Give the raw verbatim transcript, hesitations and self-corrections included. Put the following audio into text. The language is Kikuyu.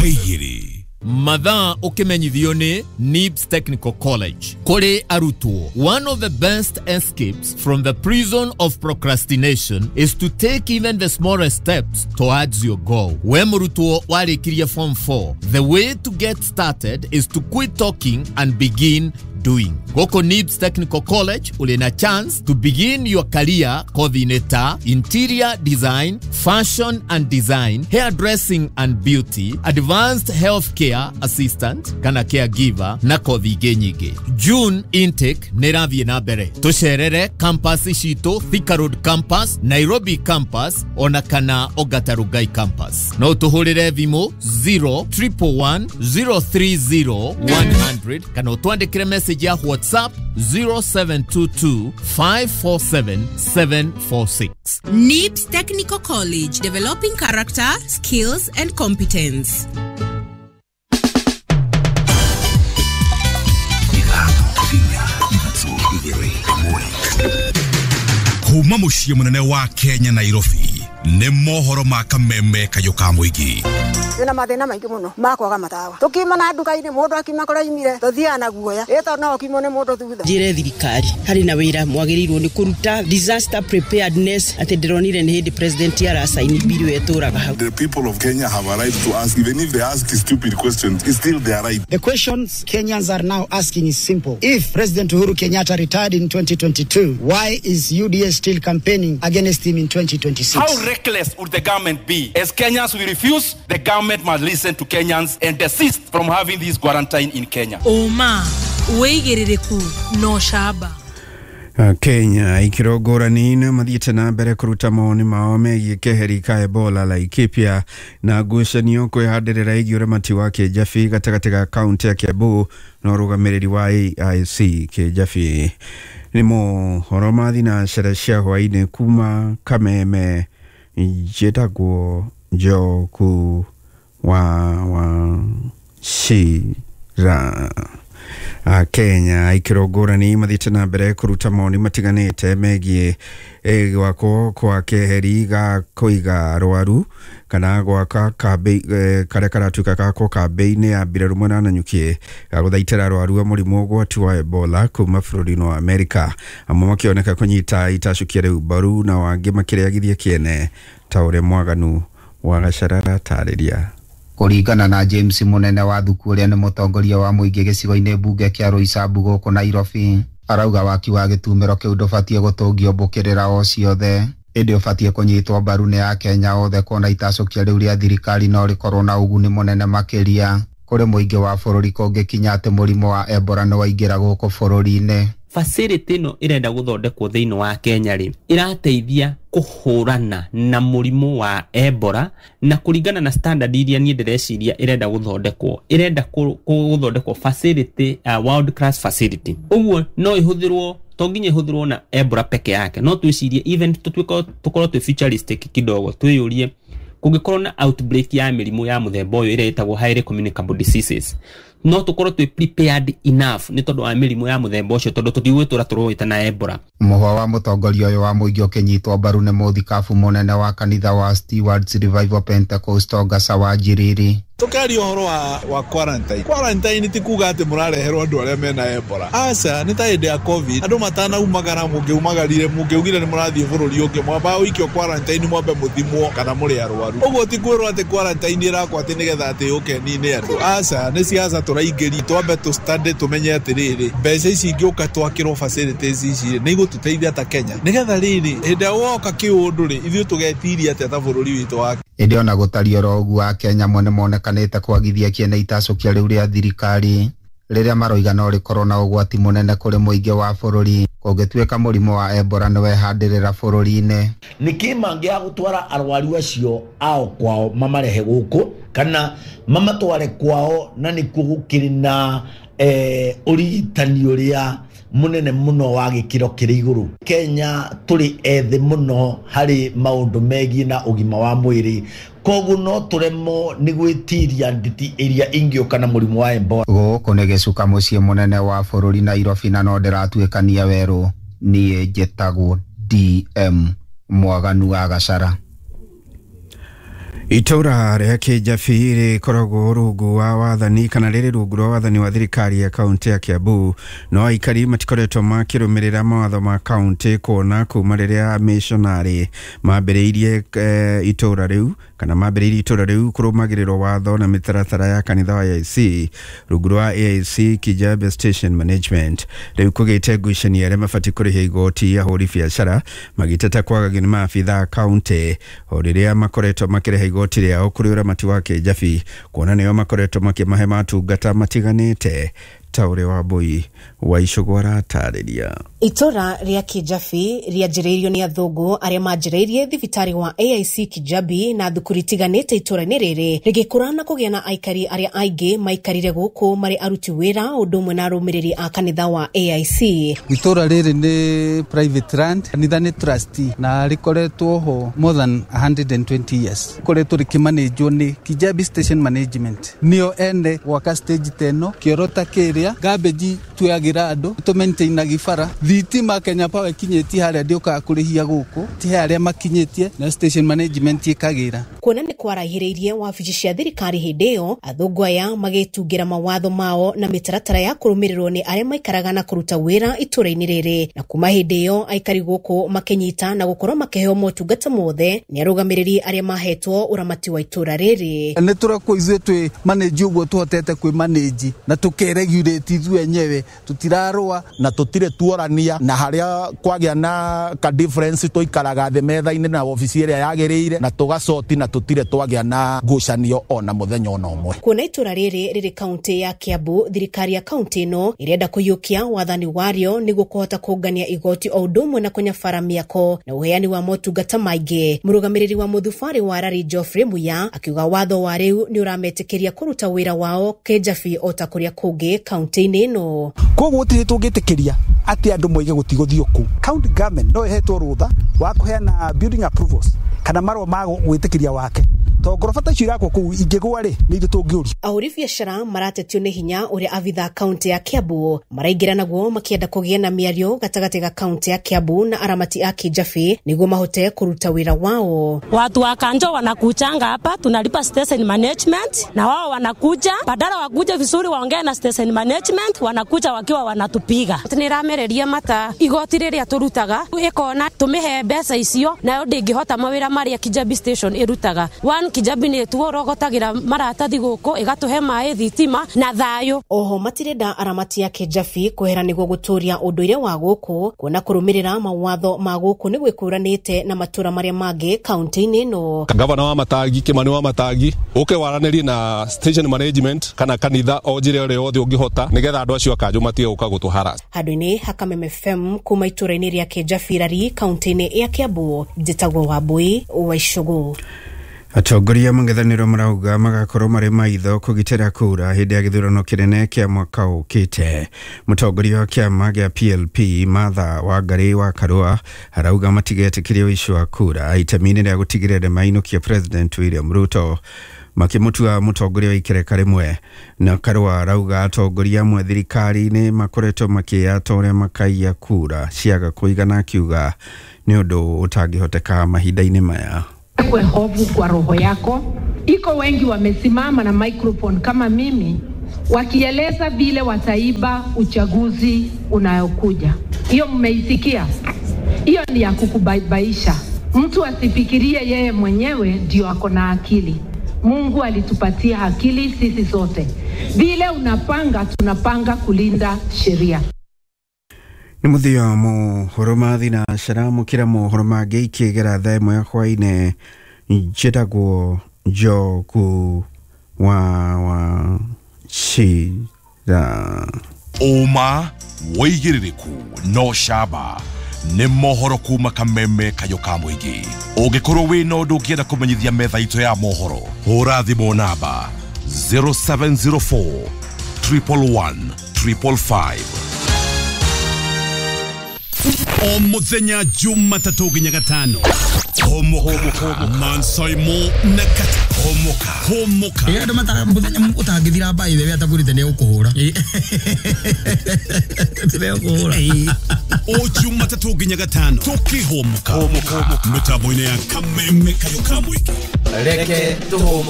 Igĩrĩ. Mathaa ũkĩmenyithio nĩ Nibs Technical College kũrĩ arutwo. One of the best escapes from the prison of procrastination is to take even the smallest steps towards your goal. We mũrutwo warĩkirie form four, the way to get started is to quit talking and begin doing. Gũkũ Nibs Technical College ũrĩ na chance to begin your career kothi-inĩ ta interior design, fashion and design, hairdressing and beauty, advanced health care assistant kana caregiver na kothi ingĩ nyingĩ. June intake nĩ ĩrathiĩ na mbere. Tũcerere campus citũ, Thika Road campus, Nairobi campus ona kana Ongata Rongai campus. No tũhũrĩre thimũ zero triple one zero three zero one hundred kana ũtwandĩkĩre message ya WhatsApp zero seven two two five four seven seven four six. Nibs Technical College, developing character, skills and competence. Ithano, inya, ithatũ, igĩrĩ, ĩmwe. Kuma mũciĩ mũnene wa Kenya, Nairobi, nĩ mohoro ma kameme kayũ ka mũingĩ. Twĩna mathĩna maingĩ mũno ma kwaga matawa. Tũkiuma na nduka-inĩ, mũndũ akiuma kũrĩa aimire, tũthiaga na guoya ĩ tondũ no ũkiumwo nĩ mũndũ thutha. Njĩre thirikari harĩ na wĩra mwagĩrĩirwo nĩ kũruta disaster preparedness, atĩ ndĩronire nĩ hĩndĩ president aracaini bill ĩtũraga hau. The people of Kenya have a right to ask, even if they ask stupid questions, it's still their right. The questions Kenyans are now asking is simple. If President Uhuru Kenyatta retired in twenty twenty-two, why is U D A still campaigning against him in twenty twenty-six? How reckless would the government be? As Kenyans, we refuse. The government must listen to Kenyans and desist from having this quarantine in Kenya. Ũma, wĩigĩrĩrĩku na ũcamba. Kenya ikĩro ngũrani nĩ mathiĩte na mbere kũruta mawoni mao megiĩ keheri ka Ebola Laikipia na ngucanio kwĩhandĩrĩra ĩgiĩ ũramati wa kĩnjabi gatagatĩ ga kaunti ya Kiambu na ũrũgamĩrĩri wa A I C kĩnjabi. Nĩ mohoro ma thinacara cia hwaĩ-inĩ kuma Kameme. Njĩtagwo Njoku wa wa Cira. Kenya ikĩro ngũrani mathiĩte na mbere kũruta mawoni matiganĩte megiĩ eh, gwakwo kwa keheri ga kũiga arwaru kana gwaka kambĩ eh, karĩa karatuĩka gakwo kambĩ-inĩ ya mbirarũ mwena Nanyuki ga gũthaitĩra arwaru a mũrimũ ũgwati wa Ebola kuma bũrũri-inĩ wa Amerika, amwe makĩoneka kũnyita itacũkia rĩu mbaru na wangĩ makĩrĩagithia kĩene ta ũrĩa Mwaganu wa Gacarara tarĩria. Kũringana na James Mũnene wa Thuku, ũrĩa nĩ mũtongoria wa mũingĩ gĩcigo-inĩ mbunge kĩa Roysambu gũkũ Nairobi, arauga waki wa gĩtumĩro kĩu ndũbatiĩ gũtũngio mbũkĩrĩra o ciothe, ĩndĩ ũbatiĩ kũnyitwo mbaru nĩ Akenya othe, kuona itacũkia rĩu rĩa thirikari no rĩkorwo na ũguni mũnene makĩria kũrĩ mũingĩ wa bũrũri kũngĩkinya atĩ mũrimũ wa Ebola nĩ waingĩra gũkũ bũrũri-inĩ. Facility ĩno ĩrenda gũthondekwo thĩinĩ wa Kenya rĩ, ĩrateithia kũhũrana na mũrimũ wa Ebola, na kũringana na standard iria niĩ ndĩreciria ĩrenda gũthondekwo, ĩrenda gũthondekwo facility, uh, world class facility. Ũguo no ĩhũthĩrwo, to nginya ĩhũthĩrwo na Ebola peke yake, no twĩcirie even tũtuĩke tũkorwo twĩ futuristic kidogo, twĩyũrie kũngĩkorwo na outbreak ya mĩrimũ ya mũthemba ũyũ ĩrĩa ĩtagwo highly communicable diseases, no tũkorwo twĩ prepared enough nĩ tondũ wa mĩrimũ ya mũthemba ũcio, tondũ tũtigwĩtũra tũrũĩte na Ebola. Mũhwa wa mũtongoria ũyũ wa mũingĩ ũkĩnyitwo mbaru nĩ mũthikabu mũnene wa kanitha wa Stewards Revival Pentecostal Ngasa wa Njiriri. Tukaria ũhoro wa, wa quarantine. Quarantine ti kuga atĩ mũrareherwo andũ arĩa mena Ebola, aca. Nĩ ta hĩndĩ ya COVID, andũ matanaumagara, mũngĩumagarire, mũngĩugire nĩ mũrathiĩ bũrũri ũngĩ, mwamba ũikio quarantine, mwambe mũthimwo kana mũrĩ arwaru. Ũguo ti kwĩrwo atĩ quarantine ĩrakwo atĩ nĩgetha atĩ yũke nine andũ, aca. Nĩ siasa tũraingĩria. Twambe tũ study, tũmenye atĩrĩrĩ, mbeca ici ingĩũka twakĩrwo facilities ici nĩ igũtũteithia ta Kenya, nĩgetha rĩrĩ hĩndĩ ĩrĩa woka kĩũndũ rĩ, ithuĩ tũgetiria atĩa ta bũrũri witũ wa Ĩndĩ ona gũtariĩ oro ũguo, Akenya amwe nĩmonekanĩte kwagithia kĩene itacũkia rĩu rĩa thirikari rĩrĩa maroiga no rĩkorwo na ũgwati mũnene kũrĩ mũingĩ wa bũrũri kũngĩtuĩka mũrimũ wa Ebola nĩwehandĩrĩra bũrũri-inĩ. Nĩkĩ mangĩaga gũtwara arwaru acio ao kwao, mamarehe gũkũ kana mamatware kwao, na nĩkuo gũkĩrĩ na eh, ũrigitani ũrĩa mũnene mũno wa gĩkĩro kĩrĩ igũrũ? Kenya tũrĩ ethĩ mũno harĩ maũndũ megiĩ na ũgima wa mwĩrĩ, koguo no tũremwo nĩ gwĩtiria nditi ĩrĩa ingĩũka na mũrimũ wa Ebola. Gũkũ nĩ gĩcuka mũciĩ mũnene wa bũrũri Nairobi, na no ndĩratuĩkania werũ. Niĩ njĩtagwo D M Mwaganu wa Gacara. Itũra rĩa Kĩjabi rĩkoragwo rungu wa wathani kana rĩrĩ rungu rwa wathani wa thirikari ya kaunti ya Kiambu, no aikari matikoretwo makĩrũmĩrĩra mawatho ma kaunti kuona kuma rĩrĩa amishonarĩ mambĩrĩirie e, itũra rĩu kana mambĩrĩirie itũra rĩu kũrũmagĩrĩrwo watho na mĩtaratara ya kanitha wa A I C rungu rwa A I C Kijabe Station Management. Rĩu kũgĩte ngucanio arĩa mabatiĩ kũrĩha igoti ahũri biacara magĩteta kwagagio nĩ maabitha a kaunti o rĩrĩa makoretwo makĩrĩha igoti rĩao kũrĩ ũramati wa Kĩjabi kuona nĩo makoretwo makĩmahe matungata matiganĩte ta ũrĩa Wambui wa Icũgũ aratarĩria. Itũra rĩa Kĩjabi rĩanjĩrĩirio nĩ athũngũ arĩa manjĩrĩirie thibitarĩ wa A I C Kijabi na thukuru itiganĩte itũra-inĩ rĩrĩ rĩgĩkũra na kũgĩa na aikari arĩa aingĩ maikarire gũkũ marĩ aruti wĩra ũndũ ũmwe na arũmĩrĩri a kanitha wa A I C. Itũra rĩrĩ nĩ private land, kanitha nĩ trustee na rĩkoretwo ho more than a hundred and twenty years. Rĩkoretwo rĩkĩmanĩnjwo nĩ Kijabi Station Management, nĩo ene gwaka stage teno kĩoro ta kĩrĩa garbage tuyagira andũ tũmaintainagi bara thitima Kenya Power ikinyĩtie harĩa ndĩũkaga kũrĩhia gũkũ ti harĩa makinyĩtie na station management ĩkagĩra. Kuona nĩ kwaraihĩrĩirie wabici cia thirikari hĩndĩ ĩyo athũngũ aya magĩtungĩra mawatho mao na mĩtaratara ya kũrũmĩrĩrwo nĩ arĩa maikaraga na kũruta wĩra itũra-inĩ rĩrĩ, na kuma hĩndĩ ĩyo aikari gũkũ makĩnyita na gũkorwo makĩheo motungata mothe nĩ arũgamĩrĩri arĩa mahetwo ũramati wa itũra rĩrĩ. Nĩ tũrekwo ithuĩ twĩ manage ũguo tũhotete kwĩ manage na tũkeregulate ithuĩ enyewe tũtirarũa na tũtirĩ tuorania na harĩa kwagĩa na ka difference tũikaraga thĩ metha-inĩ na obici ĩrĩa yagĩrĩire na tũgacoti na tũtirĩ twagĩa na ngucanio ona mũthenya ona ũmwe. Kuona itũra rĩrĩ rĩrĩ kaunti ya Kiambu, thirikari ya kaunti ĩno ĩrenda kũiyũkia wathani warĩo nĩguo kũhota kũngania igoti o ũndũ ũmwe na kũnyabara mĩako na ũheani wa motungata maingĩ. Mũrũgamĩrĩri wa mũthubarĩ wa Rari Geoffrey Muya akiuga watho wa rĩu nĩ ũrametĩkĩria kũruta wĩra wao Kĩjabi o ta kũrĩa kũngĩ kaunti-inĩ ĩno. Koguo gũtirĩ tũngĩtĩkĩria atĩ andũ moige gũtigũthiĩ kũu. County government no ĩhetwo rũtha wa kũheana building approvals kana marũa ma gwĩtĩkĩria wake tondũ ngoroba ta icio irakwo kũu ingĩgwa rĩ nĩ ithuĩ tũngĩũrio. Ahũri biacara maratetio nĩ hinya ũrĩa abitha kaunti ya Kiambu maraingĩra naguo makĩenda kũgĩa na mĩario gatagatĩ ga kaunti ya Kiambu na aramati a Kĩjabi nĩguo mahote kũruta wĩra wao. Watu wa Kanjo wanakuchanga hapa, tunalipa station management na wao wanakuja, badala wakuja vizuri waongee na station management, wanakuja wakiwa wanatupiga. Nĩramereria mata igoti rĩrĩa tũrutaga ĩkona tũmĩhe mbeca icio nayo ndĩngĩhota mawĩra marĩa Kijabi station ĩrutaga. One Kijabi nĩ tuorogotagira maratathi gũkũ ĩgatũhe maĩ thitima na thayũ. Oho matirenda aramati ya Kĩjabi kwehera nĩguo gũtũria ũndũire wa gũkũ kuona kũrũmĩrĩra mawatho ma gũkũ nĩ gwĩkũranĩte na matũra marĩa mangĩ kaunti-inĩ ĩno. Gavana wa Matangi Kimani wa Matangi ũke waranĩrie na station management kana kanitha o njĩra ĩrĩa yothe ũngĩhota nĩgetha andũ acio a Kanjũ matige gũka gũtũharass. Handũ-inĩ ha Kameme F M kuma itũra-inĩ rĩa Kĩjabi Rari kaunti-inĩ ya Kiambu, njĩtagwo Wambui wa Icũgũ. Atongoria mũng'ethanĩro marauga magakorwo marĩ maitho kũgitĩra kura hĩndĩ ya gĩthurano kĩnene kĩa mwaka ũkĩte. Mũtongoria wa kĩama gĩa P L P Martha Wangari wa Karua arauga matigetĩkĩria ũici wa kura itemi-inĩ rĩa gũtigĩrĩra nĩmainũkia President William Ruto makĩmũtua mũtongoria wa ikereka rĩmwe. Na Karua arauga atongoria amwe thirikari-inĩ makoretwo makĩyata ũrĩa makaiya kura ciaga kũigana, akiuga nĩ ũndũ ũtangĩhoteka mahinda-inĩ maya. Kwe hofu kwa roho yako. Iko wengi wamesimama na microphone kama mimi wakieleza vile wataiba uchaguzi unayokuja. Hiyo mmeisikia? Hiyo ni ya kukubaibaisha. Mtu asifikirie yeye mwenyewe ndio ako na akili. Mungu alitupatia akili sisi sote. Vile unapanga, tunapanga kulinda sheria. Nĩ mũthia mohoro ma thinacara mũkĩra mohoro mangĩ ikĩgera thaa ĩmwe ya hwaĩ-inĩ. Njĩtagwo Njogu wa Wachira. Ũma wĩigĩrĩrĩku no camba nĩ mohoro kuma Kameme kayũ ka mũingĩ. Ũngĩkorwo wĩna ũndũ ũngĩenda kũmenyithia metha itũ ya mohoro, hũra thimũ namba zero seven zero four triple one triple five. O muthenya Jumatatũ nginya Gatano. Homoka Mansaimo na Kata. Homoka Hũmũka. Ĩ andũ mata mũthenya ũtangĩthira by the way atagũrĩte nĩ ũkũhũra. Nĩ ũkũhũra. O Jumatatũ nginya gatano tũkĩhũmũka mĩtambo-inĩ ya Kameme Kayũ ka Mũingĩ. Reke tũhũmũke.